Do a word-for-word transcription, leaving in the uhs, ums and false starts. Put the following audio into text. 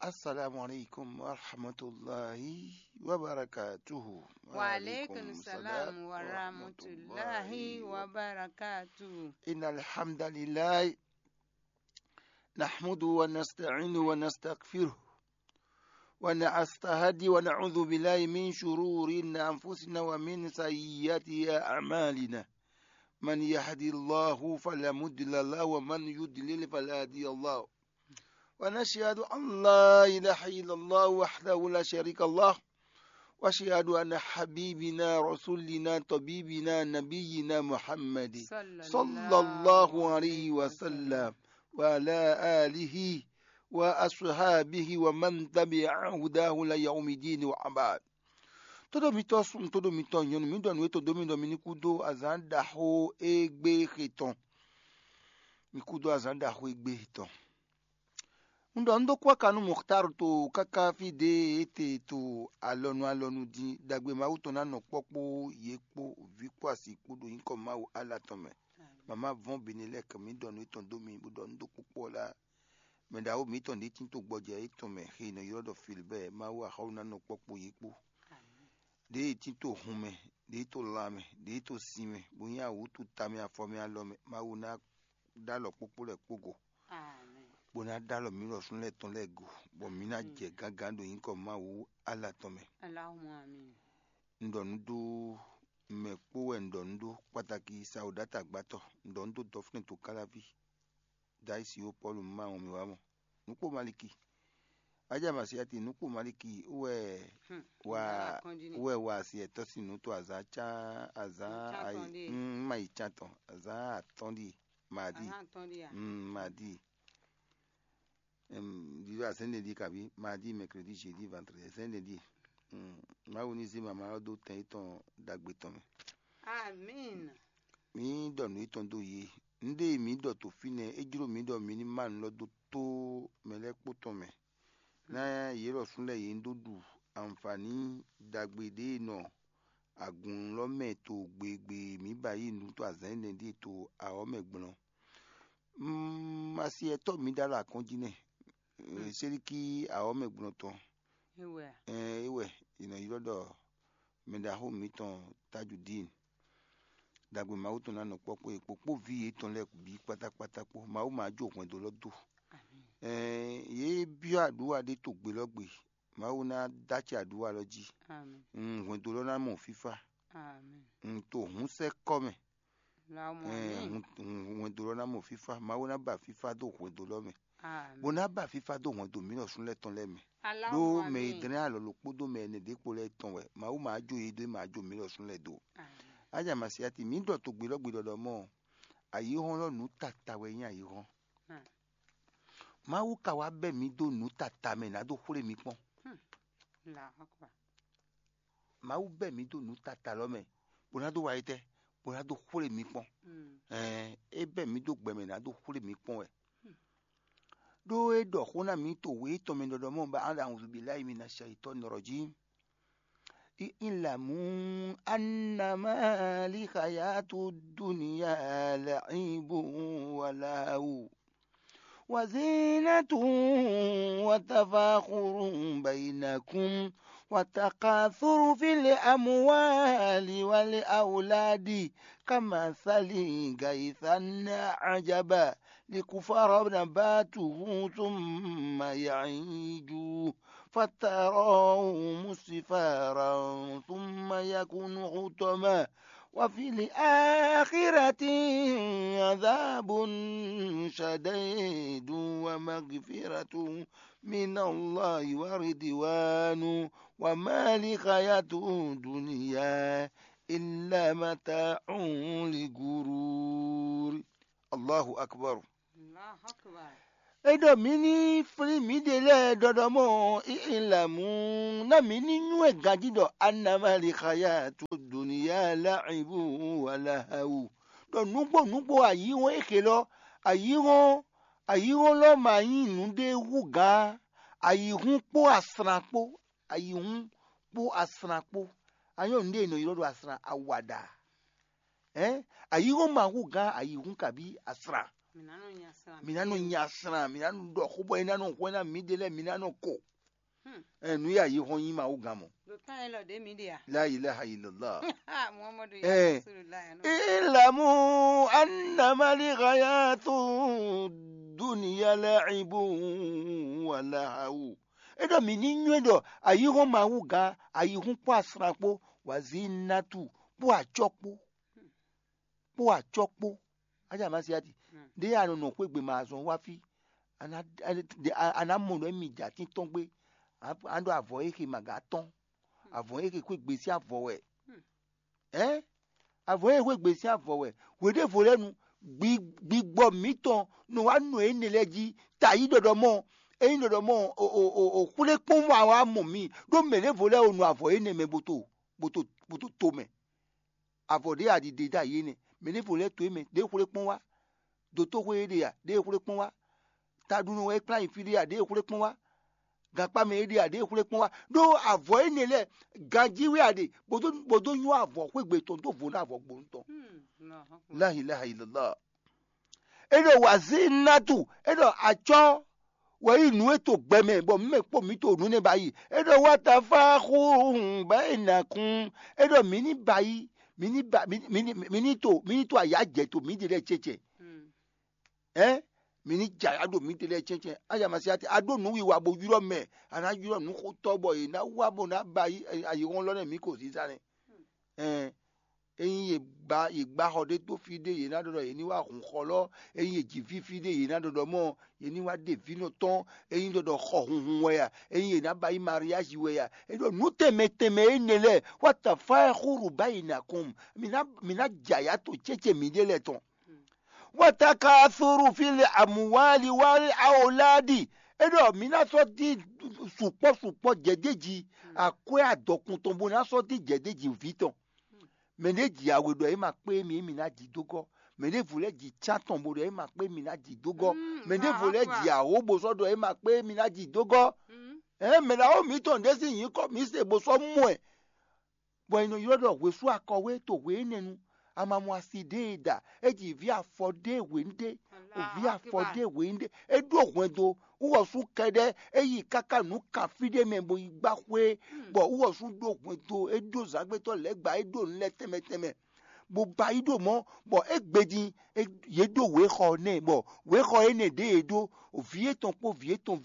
السلام عليكم ورحمة الله وبركاته. وعليكم السلام ورحمة الله وبركاته. إن الحمد لله نحمده ونستعينه ونستغفره ونستهدي ونعوذ بالله من شرور أنفسنا ومن سيئات أعمالنا. من يهد الله فلا مضل له ومن يضلل فلا هادي له. ونشهد أن لا إله إلا الله وحده لا شريك له. وأشهد أن حبيبنا رسولنا طبيبنا نبينا محمد صلى الله عليه وسلم وعلى آله وأصحابه ومن تبع هداه إلى يوم الدين وبعد. Tóɖó mitɔ́ sun, tóɖó mitɔ́ nyɔ̌nu, mǐ ɖɔ nǔ e to dó mì ɖɔ mi ní kú dó azǎn ɖaxó égbé xe tɔn. Mi kú dó azǎn ɖaxó égbé xe tɔn. Un ɖɔ un dó kú aka nú Muxtar to káká fí ɖě e te to alɔnu alɔnu din ɖagbe Mawu tɔn ná nɔ kpɔ́ kpó yě kpó vǐ kpó asi kpó ɖo nyǐkɔ Mawu ala tɔn mɛ. Mama vɔn bene lɛ́ɛ kɛ mǐ ɖɔ nǔ étɔn dó mi bó ɖɔ un dó kpɔ́kpɔ́ lá. Mɛ ɖaxó mǐtɔn ɖě tín to gbɔjɛ étɔn mɛ xe nɔ ylɔ́ ɖɔ Filbɛ́ɛ, Mawu axɔ́ ná nɔ kpɔ́ kpó yě kpó. Ɖěe tín to hun mɛ, ɖěe to lan mɛ, ɖěe to sin mɛ, bó nyí awǔtu tamɛ afɔ mɛ alɔ mɛ, Mawu ná ɖó alɔ kpókpó lɛ́ɛ kpó go, bó ná ɖó alɔ mǐ lɔ súnnu lɛ́ɛ tɔn lɛ́ɛ go, bɔ mǐ ná jɛ gǎngǎn ɖo nyǐkɔ Mawu ala tɔn mɛ. Allahumma amin. Un ɖɔ nǔ dó mɛ kpó wɛ un ɖɔ nǔ ɖó kpataki sawǔɖátagbatɔ, un ɖɔ nǔ dó dɔfúnɛ to káláví. Dayisi ó Pɔ́lu, un má wɔn mì wá mɔ. Nǔkpó Maliki. Aja Masiati, nǔkpó Maliki wɛ wa wɛ wa asi ɛtɔ́ sín nǔ to azǎn cá azǎn ayi un ma yi cán tɔn azǎn atɔ́ ɖíe. Madi. Madi. Ɖiɖɔ azɛ̌nɖeɖi kabi madi, mɛkredi, jeudi, vandredi, azɛ̌nɖeɖi. Mawu ní zé mama ɔ́ dó tɛn yětɔn ɖagbe tɔn mɛ. Amin. Mǐ ɖɔ nǔ yětɔn dó yě. Nǔɖé e mǐ ɖɔ to fínɛ́, é jló mǐ ɖɔ mǐ ní má nǔ lɔ dó tó mɛ lɛ́ɛ kpó tɔn mɛ. Ná yě lɔ sú lɛ́ɛ yě ní dó ɖu anfǎní ɖagbe ɖě e nɔ agun lɔ mɛ to gbegbe mǐ ba yí nǔ to azǎn énɛ́ ɖíe to awɔ̌ mɛ gblɔ́n. Masiɛtɔ́ mǐ ɖó alɔ akɔ́njí nɛ́. Séɖíkí awɔ̌ mɛ gblɔ́n tɔn. É wɛ a? Ɛn é wɛ è nɔ ylɔ́ ɖɔ mɛɖaxó mǐtɔn Tajudín. Ɖagbe Mawu tɔn ná nɔ kpɔ́ kpó yě kpó kpó vǐ yětɔn lɛ́ɛ bǐ kpátákpátá kpó. Mawu ma jó hwɛndo lɔ dó. Ɛn yě byɔ́ aɖǔwa ɖé to gbe lɔ gbe. Mawu ná dó acɛ aɖǔwa lɔ jí. Hwɛndo lɔ ná mɔ fífá. To hǔnsɛ́ kɔ mɛ. Hwɛndo lɔ ná mɔ fífá. Mawu ná ba fífá dó hwɛndo lɔ mɛ. Bó ná ba fífá dó hwɛndo mǐ lɔ sún lɛ́ɛ tɔn lɛ́ɛ mɛ. Ɖó mɛ e dlɛ́n alɔ lɔ kpódó mɛ ɛnɛ ɖě kpo lɛ́ɛ tɔn wɛ Mawu ma jó yě dó, ma jó mǐ lɔ sún lɛ́ɛ dó. Aja Masiati, mǐ ɖɔ togbe lɔ gbe ɖɔɖɔ mɔ, ayǐhɔ́n lɔ nǔ tata wɛ nyí ayǐhɔ́n. Mawu ka wá bɛ́ mǐ dó nǔ tata mɛ ná dó xwlé mi kpɔ́n. Mawu bɛ́ mǐ dó nǔ tata lɔ mɛ, bó ná dó wa étɛ́, bó ná dó xwlé mi kpɔ́n. Ɛɛ, é bɛ́ mǐ dó gbɛ mɛ ná dó xwlé mi kpɔ́n wɛ. Ɖó é ɖɔ xó ná mǐ to wě tɔn mɛ ɖɔɖɔ mɔ ba an awuzu bilayi mina shayitɔni rɔjim. I'lamu annama lihayatu dunya la'ibu wa lahu. وزينة وتفاخر بينكم وتكاثر في الأموال والأولاد كمثل غيث أعجب الكفار نباته ثم يهيج فتراه مصفرا ثم يكون حطما وفي الآخرة عذاب شديد ومغفرة من الله ورضوان وما الحياة الدنيا إلا متاع الغرور. Allahu akbar. Allahu akbar. É ɖɔ mǐ ní flín mǐɖée lɛ́ɛ ɖɔɖɔ mɔ, i'lamu, ná mǐ ní nywɛ́ ganjí ɖɔ annama lihayatu dunya la'ibu wa lahu. Ɖɔ nǔgbó nǔgbó ayǐhɔ́n e xe lɔ, ayǐhɔ́n ayǐhɔ́n lɔ ma nyí nǔɖé hú gǎn, ayǐhún kpó asran kpó, ayǐhún kpó asran kpó. Anyɔ́ nǔɖé e nɔ ylɔ́ ɖo asran awaɖa. Ɛn ayǐhɔ́n ma hú gǎn ayǐhún kabí asran. Mǐ ná nɔ nya sran. Mǐ ná nɔ nya sran, mǐ ná nɔ ɖɔ xó bɔ é ná nɔ hwɛ ná mǐɖée lɛ́ɛ, mǐ ná nɔ ko. Ɛ, nǔ ya yi hɔn nyí Mawu gán mɔ. Ɖo tán élɔ́ ɖě mǐ ɖe a? La ilaha illallah. Muhammadu ya Ɛ. Rasulullah ya nɔ. Ilamu annama li hayatu dunya la'ibun wa lahawu. É ɖɔ mǐ ní nywɛ́ ɖɔ ayihɔn Mawu gán, ayihún kpó asran kpó, wazínátù kpó acɔ́ kpó, kpó acɔ́ kpó. Aja ma se ati. Ɖé a nɔ nɔ xwé gbe ma azɔn wá fí. A nǎ a nǎ mɔ ɖɔ émí jɛ atín tɔn gbé. A ɖo avɔ e xe ma gǎ tɔn. Avɔ e xe xwé gbe sín avɔ wɛ. Ɛ̌? Avɔ e xwé gbe sín avɔ wɛ. Hweɖěvo lɛ́ɛ nu, gbigbɔ mǐtɔn nɔ wá nɔ énɛ́ lɛ́ɛ jí. Ta yí ɖɔɖɔ mɔ, ényí ɖɔɖɔ mɔ o xwlé kpɔ́n wá wá mɔ mǐ, ɖó mɛ ɖěvo lɛ́ɛ o nɔ avɔ énɛ́ mɛ bó to bó to bó to to mɛ. Avɔ ɖě a ɖi ɖe dó ayǐ énɛ́. Mɛ ɖěvo lɛ́ɛ to é mɛ, ɖě xwlé kpɔ́n wá. Dotóxwé é ɖe a, ɖě xwlé kpɔ́n wá. Taɖunɔ wɛ é kplá nyi fí ɖé a, ɖě xwlé kpɔ́n wá. Gankpá mɛ é ɖe a, ɖě xwlé kpɔ́n wá. Ɖó avɔ énɛ́ lɛ́ɛ, ganjí wɛ a ɖe, bó dó bó dó nywɛ́ avɔ xwé gbe tɔn dó vo ná avɔ gbonu tɔn. Láhi láhi lɔlá. É ɖɔ wazínátù, é ɖɔ acɔ́ wɛ nyí nǔ e to gbɛ mɛ, bɔ mǐ mɛ kpó mǐ to nǔ nɛ́ ba yi. É ɖɔ wá ta fá xúhun bá yi nà kún. É ɖɔ mǐ ní ba yi, mǐ ní ba mǐ ní mǐ ní mǐ ní to mǐ ní to ayǎ jɛ to mǐ ɖe lɛ́ɛ cɛcɛ. Ɛ̌ mǐ ní jɛ ayǎ ɖo mǐ ɖe lɛ́ɛ cɛcɛ. Ayǎ ma se ati a ɖó nǔ wiwa bó ylɔ́ mɛ, a nǎ ylɔ́ nǔxotɔ́ bɔ yě ná wá bó ná ba yi ayǐhɔ́n lɔ nɛ́ mǐ ko zízá nɛ́. Ɛn, ényí yě gbá yě gbá xɔ ɖé dó fí ɖé, yě ná ɖɔ ɖɔ yě ní wá hun xɔ lɔ. Ényí yě ji fífí ɖé, yě ná ɖɔ ɖɔ mɔ yě ní wá ɖe vǐnɔ tɔn. Ényí ɖɔ ɖɔ xɔ hunhun wɛ a, ényí yě ná ba yí mariázi wɛ a, é ɖɔ nǔ tɛnmɛ tɛnmɛ énɛ́ lɛ́ɛ wá ta fá xúru bá yi nà kɔn. Mǐ ná mǐ ná jɛ ayǎ to céce mǐɖée lɛ́ɛ tɔn. Wá ta ka suru fí le àmúwáli wá awoladi. É ɖɔ mǐ ná sɔ́ dín sukpɔ́ sukpɔ́ jɛ̌déji akwɛ́ adɔkun tɔn bó ná sɔ́ dín jɛ̌déji vǐ tɔn. Mɛ ɖé ji awe ɖɔ é ma kpé émí émí ná ji dó gɔ́. Mɛ ɖěvo lɛ́ɛ ji cán tɔn bó ɖɔ é ma kpé émí ná ji dó gɔ́. Mɛ ɖěvo lɛ́ɛ ji awǒ bó sɔ́ ɖɔ é ma kpé émí ná ji dó gɔ́. Ɛ̌ mɛ ɖaxó mǐtɔn ɖé sín nyǐkɔ mǐ se bó sɔ́ mɔ ɛ, bɔ è nɔ ylɔ́ ɖɔ hwesú akɔwé to hwe énɛ́ nu. Amamɔ asi ɖé e ɖa, é ji vǐ afɔ ɖé hwenu ɖé, vǐ afɔ ɖé hwenu ɖé, é ɖó hwɛndo. Wúwɔsú kɛɖɛ́ é yi káká nǔ kan fí ɖé mɛ bó yi gbá xwé, bɔ wúwɔsú ɖó hwɛndo, é ɖó zǎngbétɔ́ lɛ́ɛ gba, é ɖó nǔ lɛ́ɛ tɛnmɛ tɛnmɛ, bó ba yi ɖo mɔ̌, bɔ é gbe din, yě ɖó wěxɔ nɛ, bɔ wěxɔ énɛ́ ɖě e ɖó, vǐ étɔn kpó vǐ étɔn